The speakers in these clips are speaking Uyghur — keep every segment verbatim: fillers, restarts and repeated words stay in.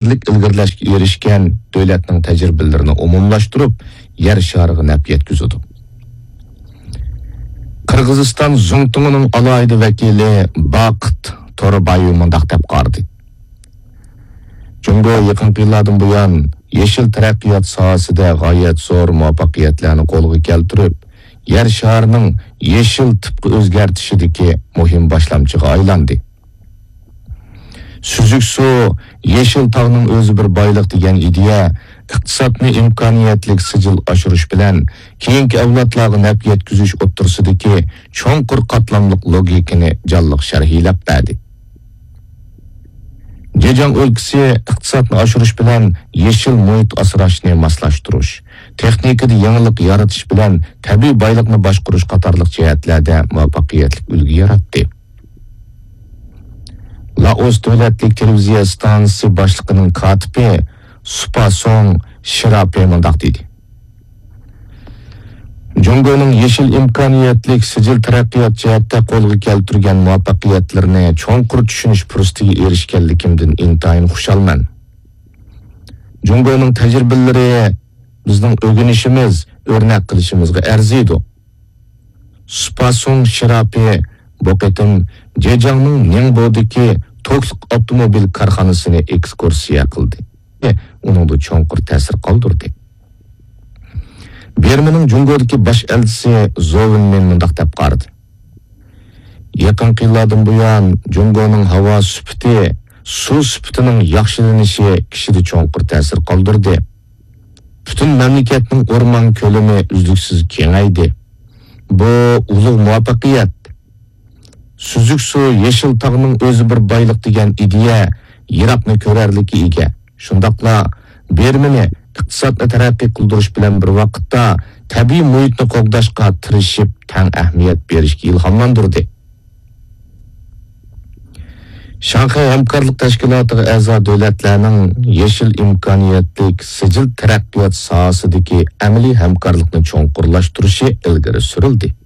ئىلگىرىلەشكە ئېرىشكەن دۆلەتنىڭ تەجرىبىلىرىنى ئومۇملاشتۇرۇپ، يەر شارىغا نەپ يەتكۈزىدۇ. قىرغىزىستان زۇڭتۇڭىنىڭ ئالاھىدە ۋەكىلى باقىت توربايېۋ مۇنداق دەپ قارىدى: جۇڭگو يېقىنقى يىللاردىن بۇيان يېشىل تەرەققىيات ساھەسىدە غايەت زور مۇۋەپپەقىيەتلەرنى قولغا كەلتۈرۈپ، يەر شارىنىڭ يېشىل تىپقا ئۆزگەرتىشىدىكى مۇھىم باشلامچىغا ئايلاندى. سۈزۈك سۇ، يېشىل تاغنىڭ ئۆزى بىر بايلىق دېگەن ئىدىيە ئىقتىسادنى ئىمكانىيەتلىك سىجىل ئاشۇرۇش بىلەن كېيىنكى ئەۋلادلارغا نەپ يەتكۈزۈش ئوتتۇرىسىدىكى چوڭقۇر قاتلاملىق لوگىكىنى جانلىق شەرھلەپ بەردى. جېجياڭ ئۆلكىسى ئىقتىسادنى ئاشۇرۇش بىلەن يېشىل مۇھىت ئاسراشنى ماسلاشتۇرۇش، تېخنىكىدا يېڭىلىق يارىتىش بىلەن تەبىئىي بايلىقنى باشقۇرۇش قاتارلىق جەھەتلەردە مۇۋەپپەقىيەتلىك ئۈلگە ياراتتى. لائوس دۆلەتلىك تېلېۋىزىيە ئىستانسىسى باشلىقىنىڭ كاتىپى سۇپاسوڭ شىراپې مۇنداق دېدى: جۇڭگونىڭ يېشىل ئىمكانىيەتلىك سىجىل تەرەققىيات جەھەتتە قولغا كەلتۈرگەن مۇۋەپپەقىيەتلىرىنى چوڭقۇر چۈشىنىش پۇرسىتىگە ئېرىشكەنلىكىمدىن ئىنتايىن خۇشالمەن. جۇڭگونىڭ تەجرىبىلىرى بىزنىڭ ئۆگىنىشىمىز، ئۆرنەك قىلىشىمىزغا ئەرزىيدۇ. سۇپاسۇڭ شىراپى بۇ قېتىم جېجياڭنىڭ نىڭبودىكى توكلۇق ئاپتوموبىل كارخانىسىنى ئېكسكۇرسىيە قىلدى. ئۇنىڭدا چوڭقۇر تەسىر قالدۇردى. بىرمىنىڭ جۇڭگودىكى باش ئەلچىسى زو ۋېنمىن مۇنداق دەپ قارىدى: يېقىنقى يىللاردىن بۇيان جۇڭگونىڭ ھاۋا سۈپىتى، سۇ سۈپىتىنىڭ ياخشىلىنىشى كىشىدە چوڭقۇر تەسىر قالدۇردى. پۈتۈن مەملىكەتنىڭ ئورمان كۆلىمى ئۈزلۈكسىز كېڭەيدى. بۇ ئۇلۇغ مۇۋەپپەقىيەت. سۈزۈك سۇ، يېشىل تاغنىڭ ئۆزى بىر بايلىق دېگەن ئىدىيە يىراقنى كۆرەرلىككە ئىگە. شۇنداقلا بىرمىنى ئىقتىسادنى تەرەققىي قىلدۇرۇش بىلەن بىر ۋاقىتتا تەبىئىي مۇھىتنى قوغداشقا تىرىشىپ، تەڭ ئەھمىيەت بېرىشكە ئىلھاملاندۇردى. شاڭخەي ھەمكارلىق تەشكىلاتىغا ئەزا دۆلەتلەرنىڭ يېشىل ئىمكانىيەتلىك سىجىل تەرەققىيات ساھەسىدىكى ئەمەلىي ھەمكارلىقنى چوڭقۇرلاشتۇرۇشى ئىلگىرى سۈرۈلدى.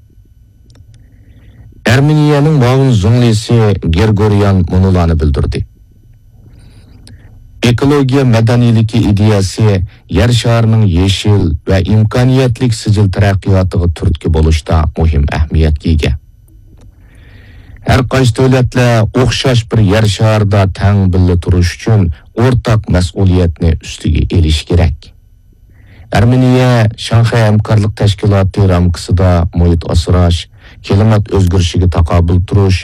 ئەرمېنىيەنىڭ مۇئاۋىن زۇڭلىسى گېرگوريان مۇنۇلارنى بىلدۈردى: ئېكولوگىيە مەدەنىيلىكى ئىدىيەسى يەر شارىنىڭ يېشىل ۋە ئىمكانىيەتلىك سىجىل تەرەققىياتىغا تۈرتكە بولۇشتا مۇھىم ئەھمىيەتكە ئىگە. ھەر قايسى دۆلەتلەر ئوخشاش بىر يەر شارىدا تەڭ بىللە تۇرۇش ئۈچۈن ئورتاق مەسئۇلىيەتنى ئۈستىگە ئېلىشى كېرەك. ئەرمېنىيە شاڭخەي ھەمكارلىق تەشكىلاتى رامكىسىدا مۇھىت ئاسراش، كىلىمات ئۆزگىرىشىگە تاقابىل تۇرۇش،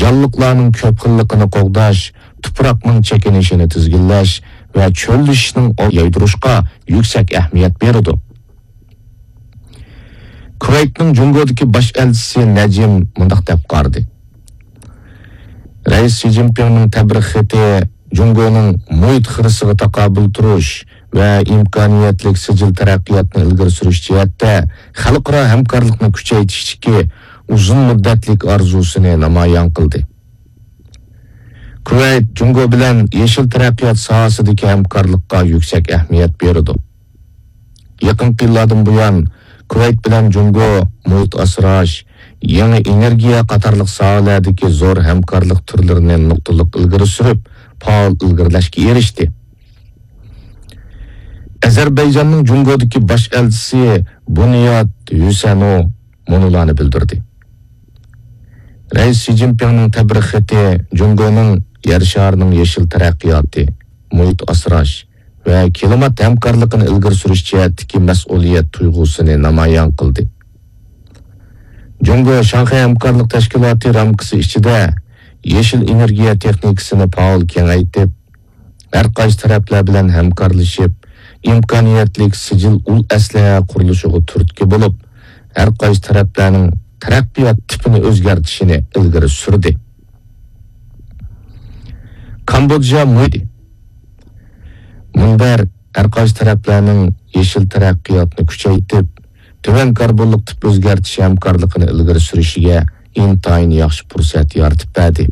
جانلىقلارنىڭ كۆپ خىللىقىنى قوغداش، تۇپراقنىڭ چېكىنىشىنى تىزگىنلەش ۋە چۆللىشىشنىڭ ئالدىنى ئالىدۇ. كۇۋەيتنىڭ جۇڭگودىكى باش ئەلچىسى نەجىم مۇنداق دەپ قارىدى: رەئىس شى جىنپىڭنىڭ تەبرىك خېتى جۇڭگونىڭ مۇھىت خىرىسىغا تاقابىل تۇرۇش ۋە ئىمكانىيەتلىك سىجىل تەرەققىياتنى ئىلگىرى سۈرۈش جەھەتتە خەلقئارا ھەمكارلىقنى كۈچەيتىشتىكى ئۇزۇن مۇددەتلىك ئارزۇسىنى نامايان قىلدى. كۇۋەيت جۇڭگو بىلەن يېشىل تەرەققىيات ساھەسىدىكى ھەمكارلىققا يۈكسەك ئەھمىيەت بېرىدۇ. يېقىنقى يىللاردىن بۇيان، كۇۋەيت بىلەن جۇڭگو مۇھىت ئاسراش، يېڭى ئېنېرگىيە قاتارلىق ساھەلەردىكى زور ھەمكارلىق تۈرلىرىنى نۇقتىلىق ئىلگىرى سۈرۈپ، پائال ئىلگىرىلەشكە ئېرىشتى. ئەزەربەيجاننىڭ جۇڭگودىكى باش ئەلچىسى بۇنياد ھۈسەنو مۇنۇلارنى بىلدۈردى: رەئىس شى جىنپىڭنىڭ تەبرىك خېتى جۇڭگونىڭ يەر شارىنىڭ يېشىل تەرەققىياتى، مۇھىت ئاسراش ۋە كىلىمات ھەمكارلىقىنى ئىلگىرى سۈرۈش جەھەتتىكى مەسئۇلىيەت تۇيغۇسىنى نامايان قىلدى. جۇڭگو شاڭخەي ھەمكارلىق تەشكىلاتى رامكىسى ئىچىدە يېشىل ئېنېرگىيە تېخنىكىسىنى پائال كېڭەيتىپ، ھەر قايسى تەرەپلەر بىلەن ھەمكارلىشىپ، ئىمكانىيەتلىك سىجىل ئۇل ئەسلىھە قۇرۇلۇشىغا تۈرتكە بولۇپ، ھەر قايسى تەرەپلەرنىڭ تەرەققىيات تىپىنى ئۆزگەرتىشىنى ئىلگىرى سۈردى. كامبودژا مۇھىتى. مۇنبەر ھەر قايسى تەرەپلەرنىڭ يېشىل تەرەققىياتنى كۈچەيتىپ، تۆۋەن كاربونلۇق تىپ ئۆزگەرتىش ھەمكارلىقىنى ئىلگىرى سۈرۈشىگە ئىنتايىن ياخشى پۇرسەت يارىتىپ بەردى.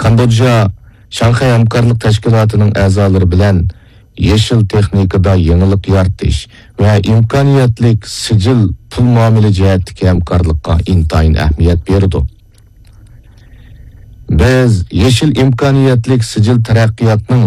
كامبودژا شاڭخەي ھەمكارلىق تەشكىلاتىنىڭ ئەزالىرى بىلەن يېشىل تېخنىكىدا يېڭىلىق يارىتىش ۋە ئىمكانىيەتلىك سىجىل پۇل مۇئامىلە جەھەتتىكى ھەمكارلىققا ئىنتايىن ئەھمىيەت بېرىدۇ. بىز يېشىل ئىمكانىيەتلىك سىجىل تەرەققىياتنىڭ